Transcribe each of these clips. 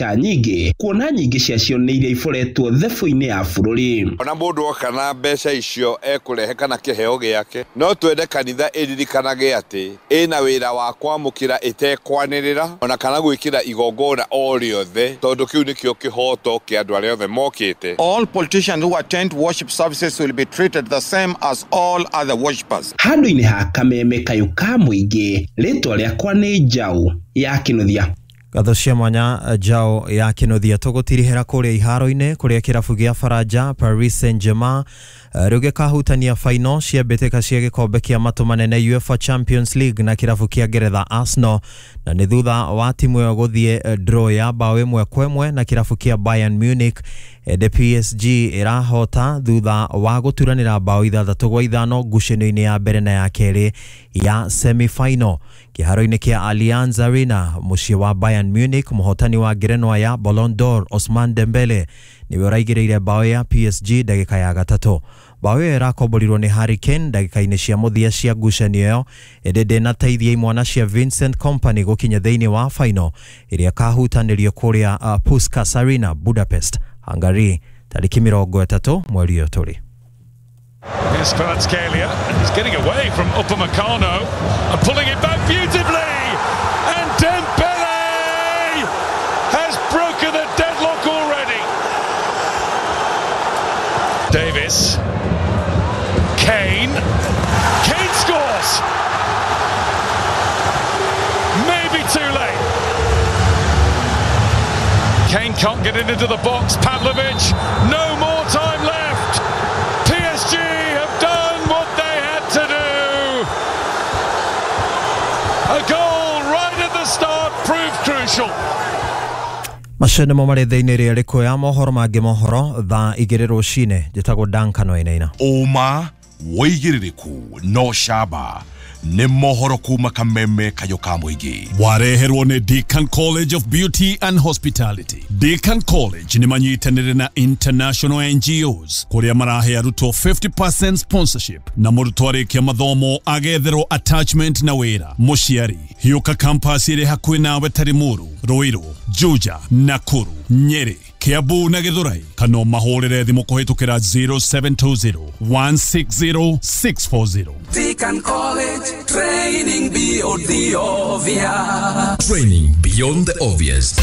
Nyingĩ kuona nyingĩ ciacio nĩ iria iboretwo thebũ-inĩ ya bũrũri. Ona mũndũ oka na mbeca icio ekũrehe kana kĩheo gĩake, no twende kanitha ĩririkanage atĩ ĩna wĩra wa kwamũkĩra ĩtekwanĩrĩra ona kana gwĩkĩra igongona o rĩothe, tondũ kĩu nĩkĩo kĩhoto kĩa andũ arĩa othe mokĩte. All politicians who attend worship services will be treated the same as all other worshippers. Handũ-inĩ ha Kameme kayũ ka mũingĩ, rĩtwa rĩakwa nĩ Njaũ ya Kĩnuthia. Ngatho cia mwanya Njaũ ya Kĩnuthia. Tũgũtirihĩra kũrĩa iharo-inĩ kũrĩa kĩrabu gĩa Faranja Paris Saint-Germain rĩu gĩkahutania final cia mbĩtĩka cia gĩkombe kĩa matũ manene UEFA Champions League na kĩrabu kĩa Ngeretha Arsenal, na nĩ thutha wa timu ĩyo gũthiĩ draw ya bao 1-1 na kĩrabu kĩa Bayern Munich. Ende PSG ĩrahota thutha wa gũturanĩra bao 6-5 ngucanio-inĩ ya mbere na ya kerĩ ya semi-final kĩharo-inĩ kĩa Allianz Arena mũciĩ wa Bayern Munich. Mũhotani wa ngerenwa ya Ballon d'Or Ousmane Dembele nĩwe ũraigĩrĩire bao ya PSG ndagĩka ya gatatũ. Bao ĩyo ĩrakomborirwo nĩ Harry Kane ndagĩka-inĩ cia mũthia cia ngucanio ĩyo, ĩndĩ ndĩnateithia imwana cia Vincent Kompany gũkinya thĩinĩ wa final ĩrĩa ĩkahutanĩrio kũrĩa Puskas Arena Budapest, Hungary tarĩki 30 mweri ũyũ tũrĩ. Here's Kvaratskhelia, and he's getting away from Upamecano and pulling it back beautifully, and Dembele has broken the deadlock already. Davis, Kane, Kane scores! Maybe too late. Kane can't get it into the box. Pavlovic, no more time left. PSG have done what they had to do. A goal right at the start proved crucial. Macio nĩmo marĩ thĩinĩ rĩa rĩkũ ya mohoro mangĩ mohoro thaa 2 rũcinĩ. Njĩtagwo Duncan Wainaina. Ũma wĩigĩrĩrĩku no camba nĩ mohoro kuma Kameme kayũ ka mũingĩ. Wareherwo nĩ Deacon College of Beauty and Hospitality. Deacon College nĩ manyitanĩire na international NGOs kũrĩa marahe arutwo 50% sponsorship na mũrutwo arĩkia mathomo agetherwo attachment na wĩra. Mũciari hiũka campus ĩrĩ hakuhĩ nawe ta Limuru, Ruiru, Juja, Nakuru, Nyeri, Kiambu na Githurai, kana mahũrĩre thimũ kũhĩtũkĩra 0720 160 640. Deacon College, training beyond the obvious. Training beyond the obvious.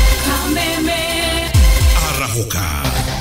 Arahũka.